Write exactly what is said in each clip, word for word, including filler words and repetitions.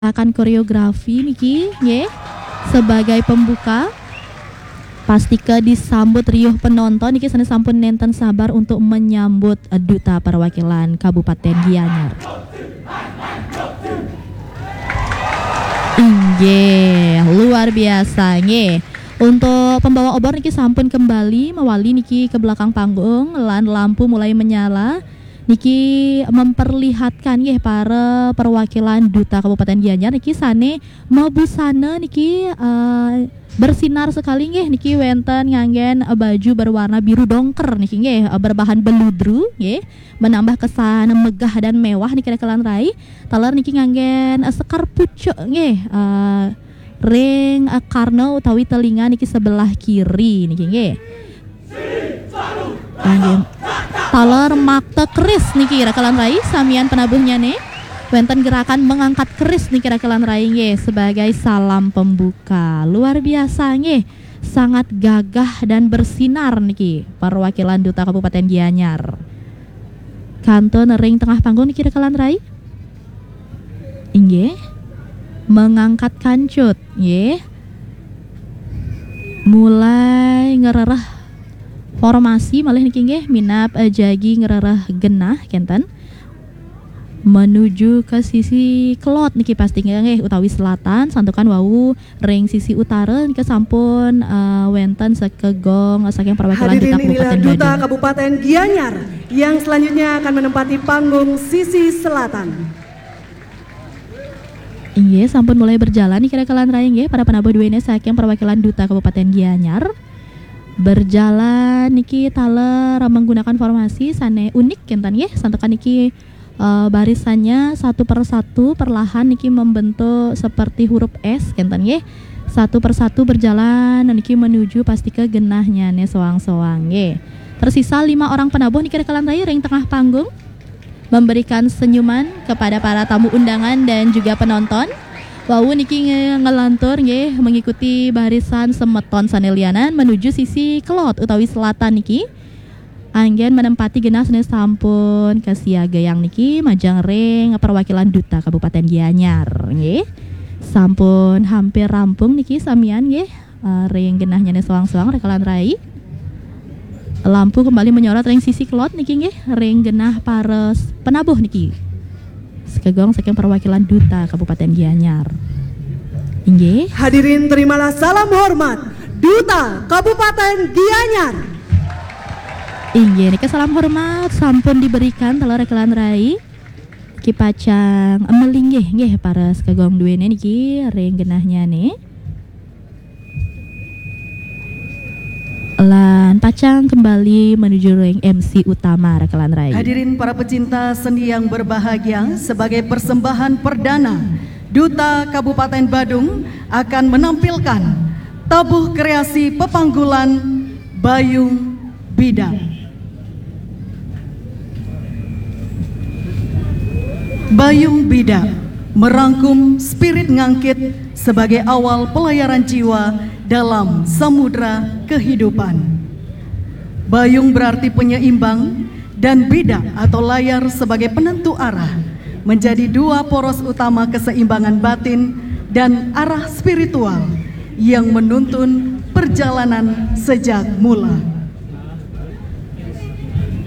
gerakan koreografi niki, nggih, sebagai pembuka. Pastika disambut riuh penonton niki, sané sampun nénten sabar untuk menyambut, eh, duta perwakilan Kabupaten Gianyar. Inggih, luar biasa nggih. Untuk pembawa obor niki sampun kembali mewali niki ke belakang panggung, lan lampu mulai menyala. Niki memperlihatkan nggih para perwakilan duta Kabupaten Gianyar niki sané mabusana niki, eh, bersinar sekali nggih, niki wénten nganggén, eh, baju berwarna biru dongker niki nggih, eh, berbahan beludru nggih, menambah kesan megah dan mewah niki rekan rai. Taler niki nganggén, eh, sekar pucuk nggih, eh, ring, eh, karna utawi telinga niki sebelah kiri niki nggih. Inggih. Taler makta keris niki rekan rai, samian penabuhnyané. Wénten gerakan mengangkat keris niki rekan rai nggih, sebagai salam pembuka. Luar biasa nggih. Sangat gagah dan bersinar niki perwakilan duta Kabupaten Gianyar. Kantun ring tengah panggung niki rekan rai. Inggih. Mengangkat kancut, nggih. Mulai ngrereh formasi malih niki nggih, minab, eh, jagi ngrereh genah kénten. Menuju ke sisi kelod niki pastika nggih, utawi selatan, santukan wau ring sisi utara nika sampun, eh, wénten sekegong saking perwakilan duta Kabupaten Badung. Hadirin, inilah duta Kabupaten Gianyar yang selanjutnya akan menempati panggung sisi selatan. Inggih, sampun mulai berjalan niki rekan rai nggih, para penabuh duéné saking perwakilan duta Kabupaten Gianyar. Berjalan niki taler menggunakan formasi sané unik kénten nggih, santukan niki, eh, barisannya satu per satu perlahan niki membentuk seperti huruf S kénten nggih. Satu per satu berjalan niki menuju pastika genahnyané soang-soang nggih. Tersisa lima orang penabuh niki rekan rai ring tengah panggung. Memberikan senyuman kepada para tamu undangan dan juga penonton. Wau niki nge-, ngelantur nggih, mengikuti barisan semeton sané lianan menuju sisi kelod utawi selatan niki. Anggén menempati genah sané sampun kasiagayang niki majeng ring perwakilan duta Kabupaten Gianyar nggih. Sampun hampir rampung niki samian nggih. Eh, ring genahnyané soang-soang rekan rai. Lampu kembali menyorot ring sisi kelod niki nggih, ring genah para penabuh niki. Sekegong saking perwakilan duta Kabupaten Gianyar. Inggih. Hadirin, terimalah salam hormat duta Kabupaten Gianyar. Inggih, nika salam hormat sampun diberikan taler rekan rai. Ki pacang melinggih nggih para sekegong duéné niki ring genahnyané. Lan pacang kembali menuju ring M C utama rekan rai. Hadirin para pecinta seni yang berbahagia, sebagai persembahan perdana, Duta Kabupaten Badung akan menampilkan tabuh kreasi pepanggulan Bayung Bida. Bayung Bida merangkum spirit ngangkit sebagai awal pelayaran jiwa dalam samudra kehidupan. Bayung berarti penyeimbang, dan bida atau layar sebagai penentu arah, menjadi dua poros utama keseimbangan batin dan arah spiritual yang menuntun perjalanan sejak mula.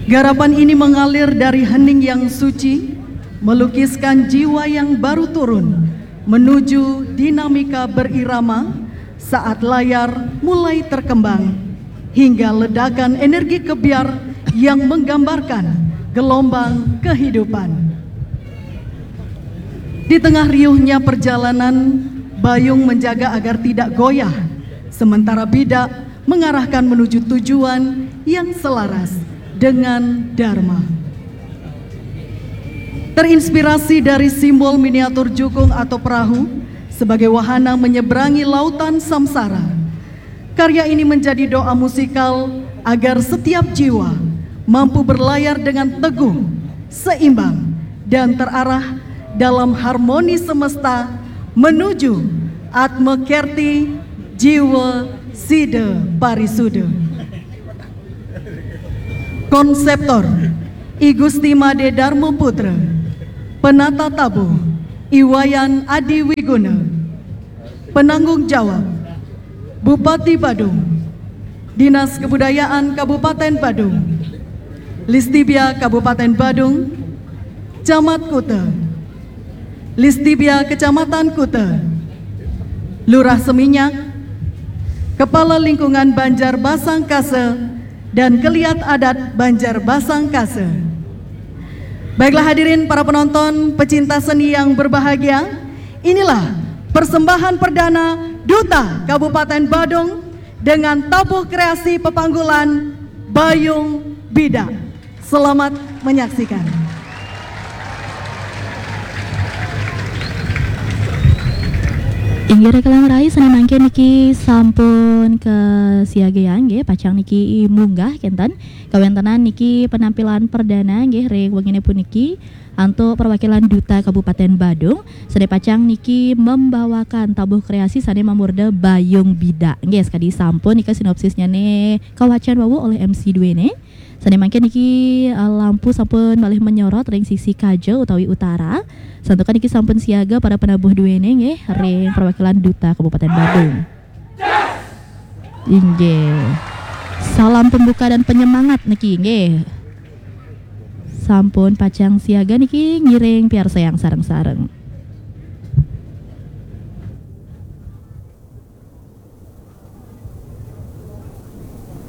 Garapan ini mengalir dari hening yang suci, melukiskan jiwa yang baru turun, menuju dinamika berirama saat layar mulai terkembang, hingga ledakan energi kebyar yang menggambarkan gelombang kehidupan. Di tengah riuhnya perjalanan, Bayung menjaga agar tidak goyah, sementara Bida mengarahkan menuju tujuan yang selaras dengan Dharma. Terinspirasi dari simbol miniatur jukung atau perahu sebagai wahana menyeberangi lautan samsara, karya ini menjadi doa musikal agar setiap jiwa mampu berlayar dengan teguh, seimbang, dan terarah dalam harmoni semesta menuju Atma Kerti Jiwa Sida Parisuda. Konseptor, I Gusti Made Dharma Putra. Penata tabuh, Iwayan Adi Wiguna, penanggung jawab, Bupati Badung, Dinas Kebudayaan Kabupaten Badung, Listibia Kabupaten Badung, Camat Kuta, Listibia Kecamatan Kuta, Lurah Seminyak, Kepala Lingkungan Banjar Basangkase, dan Keliat Adat Banjar Basangkase. Baiklah hadirin para penonton, pecinta seni yang berbahagia, inilah persembahan perdana Duta Kabupaten Badung dengan tabuh kreasi pepanggulan Bayung Bida. Selamat menyaksikan. Inggih rikala rai, sane mangkin niki sampun kasiagayang nggih, pacang niki munggah kenten. Kawentenan niki penampilan perdana nggih ring wengine puniki antuk perwakilan Duta Kabupaten Badung sane pacang niki membawakan tabuh kreasi sane mamurda Bayung Bida. Nggih, sakadi sampun nika sinopsisnyane kawacan wau olih M C duene. Sane mangkin niki, eh, lampu sampun malih menyorot ring sisi kaja utawi utara. Santukan niki sampun siaga para penabuh duene nggih ring perwakilan Duta Kabupaten Badung. Inggih. Salam pembuka dan penyemangat niki nggih. Sampun pacang siaga niki ngiring piarsayang sareng-sareng.